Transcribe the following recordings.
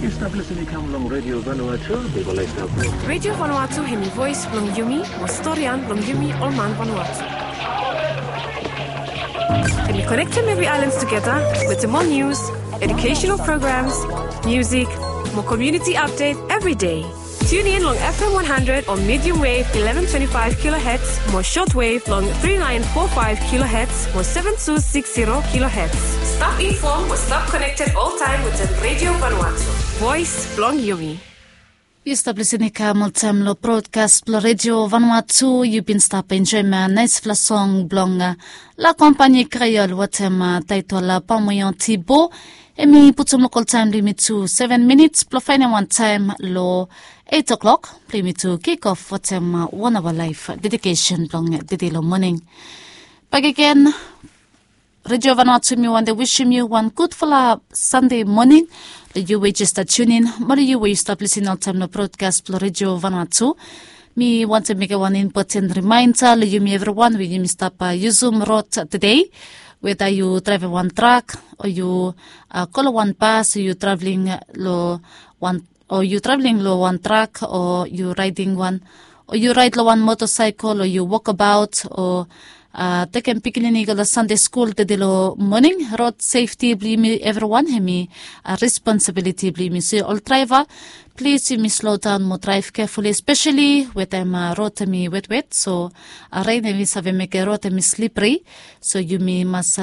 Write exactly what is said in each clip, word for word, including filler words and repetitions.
Yu stap lisin i kam long Radio Vanuatu, Bibel Life Network. Radio Vanuatu hemi voes blong yumi, mo storian blong yumi ol man Vanuatu. Hemi konektem evri aelan tugeta wetem ol nius, educational programs, music, mo community update every day. Tune in long F M one hundred o medium wave eleven twenty-five kilohertz, mo shortwave long three nine four five kilohertz mo seven two six zero kilohertz. Stap informed mo stap connected all time with the Radio Vanuatu. Voice blong yumi. Yu stap lisin i kam oltaem long broadcast blong Radio Vanuatu. Yu bin stap enjoem naesfala song blong La Compagnie Creole wetem taetol Pamoyan Tibo. Hemi putum lokal taem blong yumi tu seven minits blong faenem wan taem long eight o'clock blong yumi tu kick off wetem wan aoa laef dedication blong tede long moning. Bakegen, Radio Vanuatu, mi wantem wisim yu wan gudfala Sande moning. Long yu we jes stap tune in, mo long yu we yu stap lisin oltaem long broadcast blong Radio Vanuatu, mi wantem mekem wan impoten rimaenda long yumi evriwan we yumi stap yusum rod tede. Weda yu draevem wan trak, o yu go long wan bas, o yu traveling long wan o yu traveling long wan trak, o yu raeding wan, o yu raed long wan motosaekel, o yu wokabaot, o tekem pikinini i go long Sande skul tede long moning, rod sefti blong yumi evriwan hemi responsibiliti blong yumi. So ol draeva, plis yumi slodaon mo draev kefuli, espeseli we taem rod hemi wetwet. So ren hemi save mekem rod hemi slipri. So yumi mas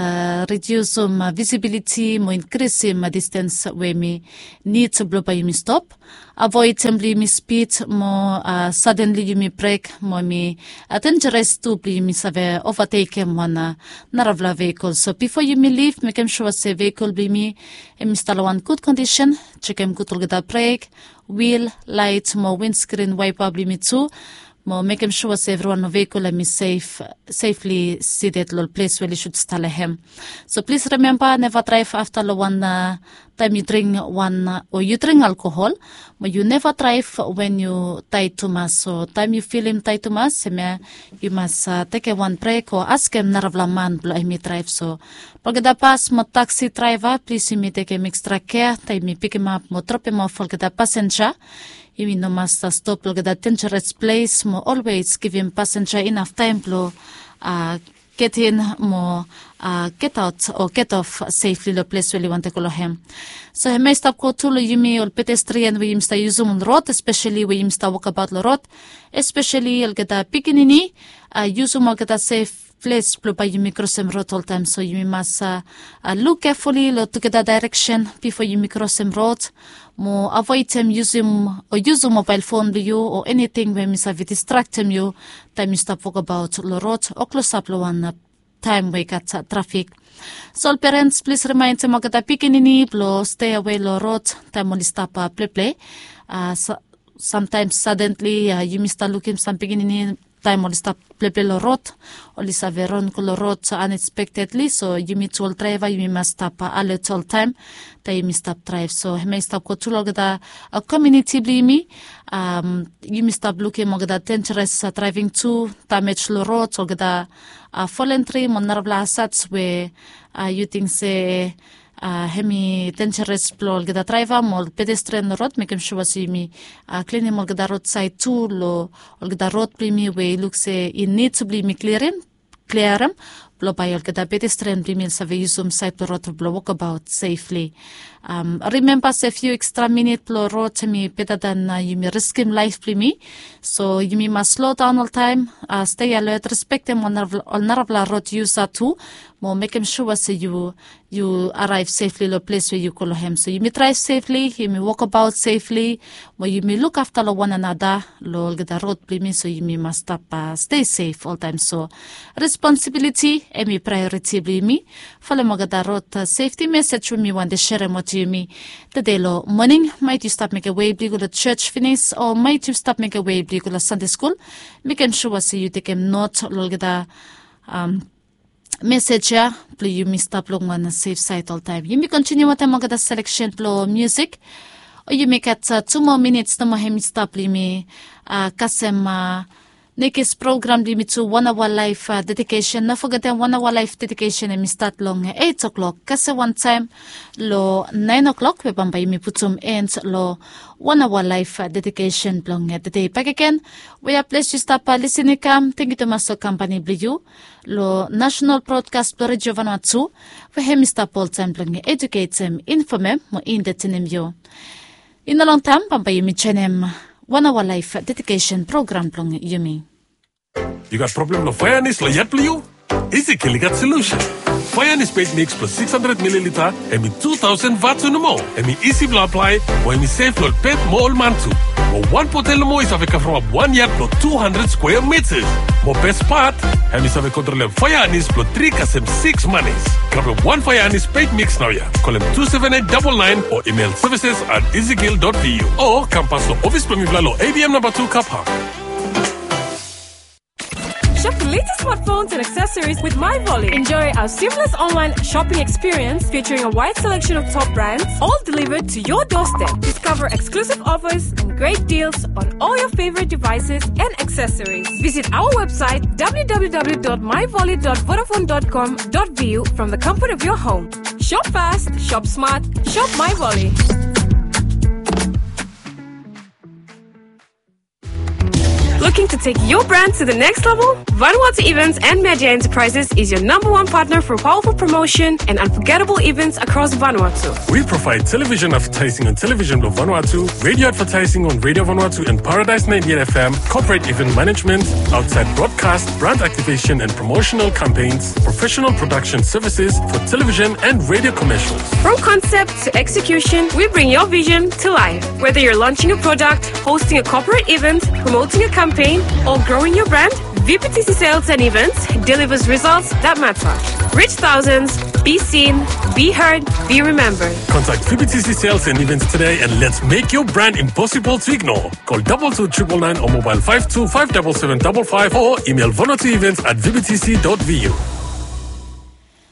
ridiusum visibiliti mo inkrisim distens we hemi nid blong bae yumi stop. Avoedem blong yumi spid mo sadenli yumi brek, mo hemi denjeres tu blong yumi save ovatekem wan narafala vehikel. So bifo yumi lif, mekem sua se vehikel blong yumi hemi stap long wan gud kondisen. Jekem gud olgeta brek, wil, laet mo winskrin waepa blong yumi tu, mo mekem sua se evriwan long vehikel hemi sef, sefli sided long ples we oli sud stap long hem. So plis rimemba, neva draev afta long wan taem yu dring wan, o yu dring alkohol, mo yu neva draev wen yu taed tumas. So taem yu filim taed tumas, hemia yu mas tekem wan brek o askem narafala man blong hemi draev. So olgeta bas mo taksi draeva, plis yumi tekem ekstra kea taem yumi pikimap mo dropem of olgeta pasenja. Yumi no mas stop long olgeta denjeres ples, mo olwes givim pasenja inaf taem blong getin mo getaot o getof sefli long ples we oli wantem go long hem. So hemia i stap go tu long yumi ol pedestrian we yumi stap yusum ol rod, espeseli we yumi stap wokabaot long rod, espeseli olgeta pikinini. Yusum olgeta sef ples blong bae yumi krosem rod oltaem. So yumi mas luk kefuli long tugeta daereksen bifo yumi krosem rod, mo avoedem yusum o yusum mobael fon blong yu o eniting we hemi save distraktem yu taem yu stap wokabaot long rod o klosap long wan taem we i gat trafik. So ol perens, plis rimaendem olgeta pikinini blong steawe long rod taem oli stap pleple. Samtaem sadenli yumi stap lukim sam pikinini taem oli stap pleple long rod, oli save ron go long rod anespektedli. So yumi tu ol draeva yumi mas stap alet oltaem taem yumi stap draev. So hemia i stap go tu long olgeta komuniti blong yumi. Yumi stap lukim olgeta denjeres draeving tu, damej long rod, olgeta folen tri mo narafala asets we yu ting se hemi denjeres blong olgeta draeva mo ol pedestrian long rod. Mekem sua se yumi klinim olgeta rodsaed tu long olgeta rod blong yumi we i luk se i nid blong yumi klirim, kliarim, blong bae olgeta pedestrian blong yumi oli save yusum saed blong rod blong wokabaot sefli. Rimemba se fiu ekstra minit blong rod hemi beta dan yumi riskim laef blong yumi. So yumi mas slodaon oltaem, stei alet, respektem ol narafala rod yusa tu, mo mekem sua se yu yu araev sefli long ples we yu go long hem. So yumi draev sefli, yumi wokabaot sefli, mo yumi lukafta long wan another long olgeta rod blong yumi. So yumi mas stap stei sef oltaem. So responsibiliti hemi praeoriti blong yumi. Folem olgeta rod sefti mesej we mi wantem serem wetem yumi tede long moning. Maet yu stap mekem wei blong yu go long jos finis, o maet yu stap mekem wei blong yu go long Sande skul, mekem sua se yu tekem not long olgeta mesej ya blong yumi stap long wan sef saed oltaem. Yumi kontiniu wetem olgeta seleksen blong musik. O yumi gat tu moa minits nomo hemi stap blong yumi kasem Nekis program blong yumi tu wan aoa laef dedikesen. No fogetem wan aoa laef dedikesen hemi stat long eit o'klok kasem wantaem long naen o'klok we bambae yumi putum en long wan aoa laef dedikesen blong tedei bakegen. Wea ples yu stap lisin i kam, tengiu tumas long kampani blong yu long nasenal brodkas blong redio vanua tu, we hemi stap oltaem blong ejuketem, infomem mo entetenem yu. I no longtaem bambae yumi joenem wan aoa laef dedikesen program blong yumi. Yu gat problem long faeanis long yat blong yu? Isi Kil i gat solusen. Faeanis peit miks blong sikis handred mililita, hemi tu taosen vatu nomo. Hemi isi blong aplae, mo hemi sef long ol pet mo ol man tu. Mo wan botel nomo i save kavremap wan yat blong tu handred skwea mitas. Mo bes pat, hemi save kontrolem faeanis blong tri kasem sikis manis. Grabem wan faeanis peit miks naoia. Kolem tu seven eight double nine o email services at isikil dot vu o kam pas long ofis blong mifala long A B M namba tu Car Park. Shop the latest smartphones and accessories with MyVolley. Enjoy our seamless online shopping experience featuring a wide selection of top brands, all delivered to your doorstep. Discover exclusive offers and great deals on all your favorite devices and accessories. Visit our website w w w dot myvolley dot vodafone dot com dot v u from the comfort of your home. Shop fast, shop smart, shop MyVolley. Looking to take your brand to the next level? Vanuatu Events and Media Enterprises is your number one partner for powerful promotion and unforgettable events across Vanuatu. We provide television advertising on Television Blong Vanuatu, radio advertising on Radio Vanuatu and Paradise ninety-eight F M, corporate event management, outside broadcast, brand activation and promotional campaigns, professional production services for television and radio commercials. From concept to execution, we bring your vision to life. Whether you're launching a product, hosting a corporate event, promoting a campaign, or growing your brand, V P T C Sales and Events delivers results that matter. Reach thousands, be seen, be heard, be remembered. Contact V P T C Sales and Events today and let's make your brand impossible to ignore. Call double two triple nine or mobile five two five double seven double five or email vanuatuevents at v b t c dot v u.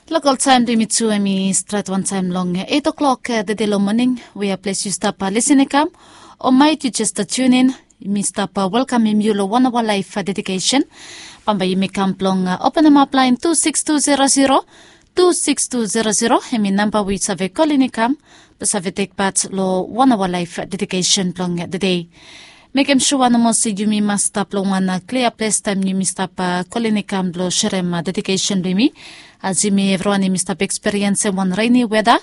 Lokol taem blong yumi tu hemi stret wantaem long eit o'klok tede long moning. Wea ples yu stap lisin i kam o maet yu jes tune in, mi stap welkamem yu long wan aoa laef dedikesen. Bambae yumi kam blong openemap laen tu sikis tu zero zero, tu sikis tu zero zero, hemi namba we yu save kolin i kam blong save tek pat long wan aoa laef dedikesen blong tede. Mekem sua nomo se yumi mas stap long wan klia ples taem yumi stap kolin i kam blong serem dedikesen blong yumi. As yumi evriwan yumi stap ekspiriensem wan reni weda,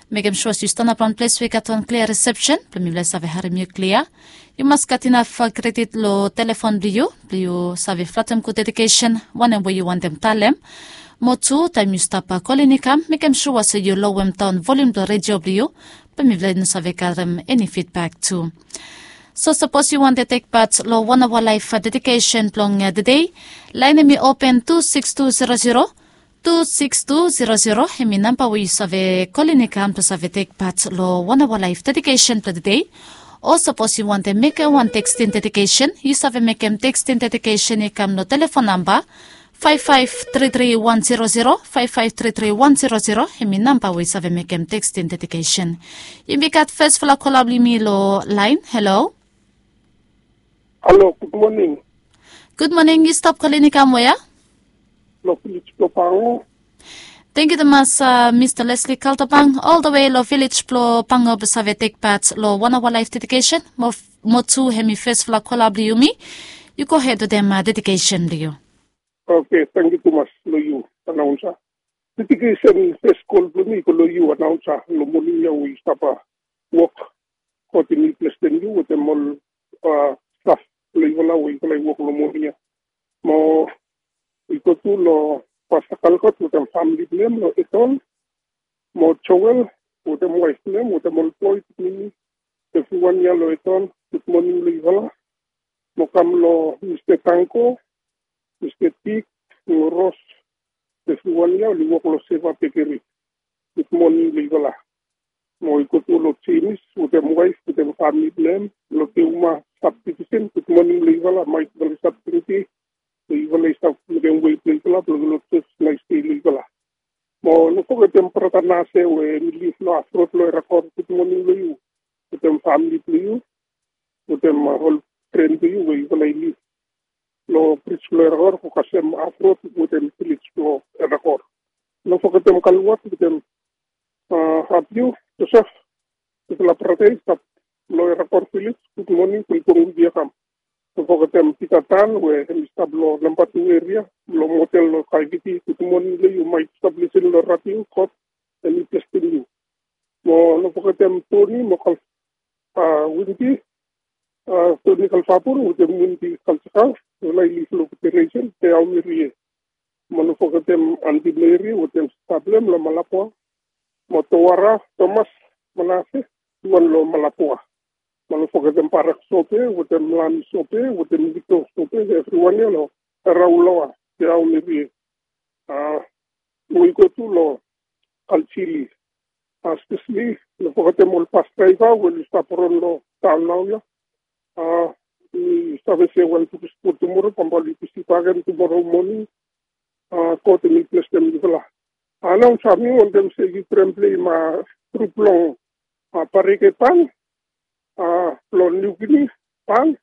mekem sua se yu stanap long ples we i gat wan klia risepsen blong mifala i save harem yu klia. Yu mas gat inaf kredit long telefon blong yu blong yu save flatem gud dedikesen wanem we yu wantem talem. Mo tu taem yu stap kolin i kam, mekem sua se yu lowem daon volium blong redio blong yu blong mifala i no save karem eni fidbak tu. So sapos yu wantem tek pat long wan aoa laef dedikesen blong tede, laen hemi open tu sikis tu zero zero, tu sikis tu zero zero, hemi namba we yu save kolin i kam blong save tek pat long wan aoa laef dedikesen blong tede. O sapos yu wantem mekem wan tekstin dedikesen, yu save mekem tekstin dedikesen i kam long telefon namba faef faef tri tri wan zero zero, faef faef tri tri wan zero zero, hemi namba we yu save mekem tekstin dedikesen. Yumi gat fesfala kola blong yumi long laen. Halo. Halo, gud moning. Gud moning, yu stap kolin i kam wea? Long vilej blong Pango. Tangkiu tumas, Mista Leslie Kaltapang, ol the way long vilej blong Pango blong save tek pat long wan aoa laef dedikesen. Mo tu hemi fesfala kola blong yumi. Yu gohed wetem dedikesen blong yu. Oke, tangkiu tumas long yu, anaonsa. Dedikesen fes kol blong mi i go long yu, anaonsa, long moning ya we yu stap wok kotim mi, blesem yu wetem ol staf blong yufala we yufala i wok long moning ya. Mo i go tu long Pasta Kalkot wetem famili blong hem long Eton, mo Joel wetem waef blong hem wetem ol boe pikinini, evriwan ya long Eton, gud moning long yufala. Mo kam long Mista Tanko, Mista Tik, mo Ros, evriwan ya oli wok long Seva Bekeri, gud moning long yufala. Mo i go tu long Jemis wetem waef wetem famili blong hem long Teuma sabdivisen, gud moning long yufala. Maet yufala i stap drinking, yufala i stap mekem wei blong yufala blong long jos, naes dei long yufala. Mo no fogetem brata Nase we hemi liv long Afrod long Erakor, gud moning long yu wetem famili blong yu wetem ol fren blong yu we yufala i liv long bris blong Erakor, go kasem Afrot wetem vilej blong Erakor. No fogetem Kaluat wetem Abiu Josef, dispela brata i stap long Erakor vilej, gudmoning, welkam, welkam. No fogetem Pita Tan we hem i stap long namba tu eria long motel long Kaiviti, gudmoning long yu, maet yu stap lisin long radio, God hem i blesem yu. Mo no fogetem Toni mo Kal, a, Winti, a, Toni Kalfapun wetem Winti Kalsakang, ol i liv long Federation, Te Aomirie. Mo no fogetem Anti Meri wetem sista blong hem long Malapua, mo Towara Tomas Manase, tuwan long Malapua. Mo no fogetem Barak Sope wetem Lami Sope wetem Vito Sope, evriwan ya long Rauloa, Te Aomirie. A, mo i go tu long Kalsili. A, speseli no fogetem ol bas draiva we oli stap ron long taon naoia. A, mi save se wan tuku spot tumora, bambae oli bisi bakegen tumora moning. A, God hem i blesem yufala. A, nao mi wantem se yu traem pleim, a, grup blong, a, Parike Band, a, blong Niu Gini Band,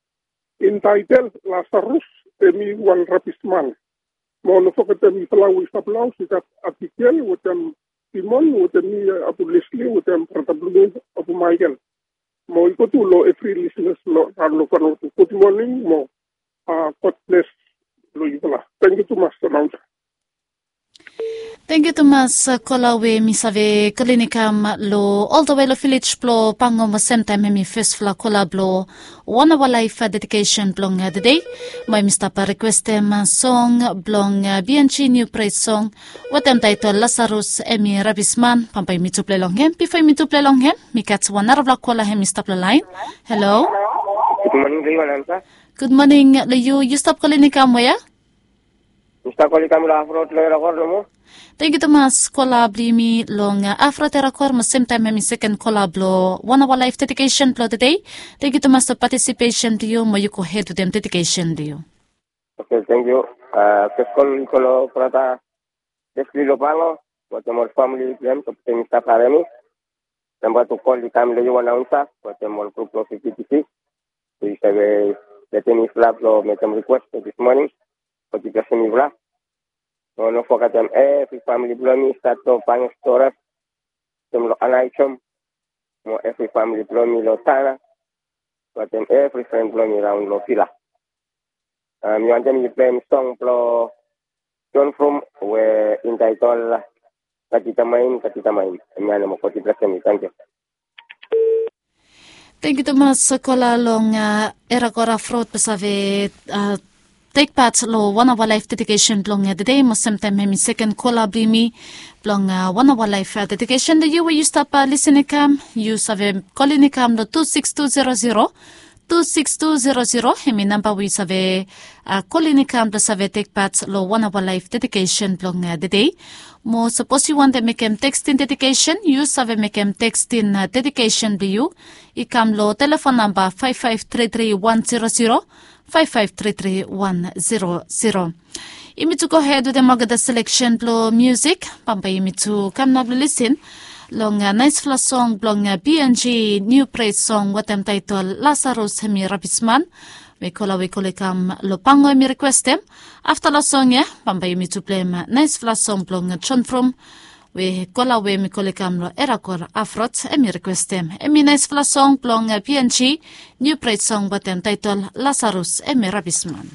intaitel Lasarus, hem i wan rabisman. Mo no fogetem yufala we i stap long haos, i gat Abigail wetem Simon wetem mi, a, Abu Leslie wetem brata blong mi Abu Michael. Mo i go tu long evri lisenas long raon long Vanuatu. Gudmoning mo, a, God bless long yufala. Tangkiu tumas, anaunsa. Tangkiu tumas, kola we mi save kolini kam long oltawe long vilej blong Pango mo semtaem hem i fesfala kola blong Wan Awa Laef dedikesen blong tede. Mo hem i stap rikwestem song blong B N G New Praise Song wetem taetol Lasarus hem i rabisman. Bambae yumi tu plei long hem. Bifo yumi tu plei long hem, mi gat wan narafala kola hem i stap long laen. Halo. Gudmoning long yu, anaunsa. Gudmoning long yu. Yu stap kolini kam wea? Mi stap kolini kam long Afrot long Erakor nomo. Tangkiu tumas, kola blong yumi long, a, Afrot Erakor mo semtaem hem i seken kola blong Wan Awa Laef dedikesen blong tede. Tangkiu tumas long patisipesen blong yu, mo yu gohed wetem dedikesen blong yu. Oke, tangkiu. A, fes kol i go long brata Leslie long Pango wetem ol famili blong hem, tok se mi stap harem yu. Namba tu kol i kam long yu, anaunsa, wetem ol grup blong F B T C. Yu save letem yufala blong mekem rikwes long dis moning. God i blesem yufala. Mo no fogetem evri famili blong mi i stat long Pango Stores, wetem long Anaijom, mo evri famili blong mi long Tana, wetem evri fren blong mi raon long Vila. A, mi wantem yu pleim song blong John From we intaitel Katitamain, Katitamain. Hemia nomo, God i blesem yu. Tangkiu. Tangkiu tumas, kola long, a, Erakor Afrot blong save, a, tek pat long Wan Awa Laef dedikesen blong, a, tede, mo semtaem hem i seken kola blong yumi blong, a, Wan Awa Laef, a, dedikesen. Long yu we yu stap, a, lisin i kam, yu save kolini kam long tu sikis tu zero zero, tu sikis tu zero zero, hem i namba we yu save, a, kolini kam blong save tek pat long Wan Awa Laef dedikesen blong, a, tede. Mo sapos yu wantem mekem teksting dedikesen, yu save mekem teksting, a, dedikesen blong yu i kam long telefon namba faef faef tri tri wan zero zero, faef faef tri tri wan zero zero. Yumi tu gohed wetem olgeta seleksen blong musik, bambae yumi tu kam nao blong lisin long, a, naesfala song blong, a, B N G New Praise Song wetem taetol Lasarus hem i rabisman, we kola we i go long kam long Pango hem i rikwestem. Afta long song ya, bambae yumi tu pleim, a, naesfala song blong, a, John From, we kola we hem i go long kam long Erakor Afrot hem i rikwestem. Hem i naesfala song blong, a, B N G New Praise Song wetem taetol Lasarus hem i rabisman.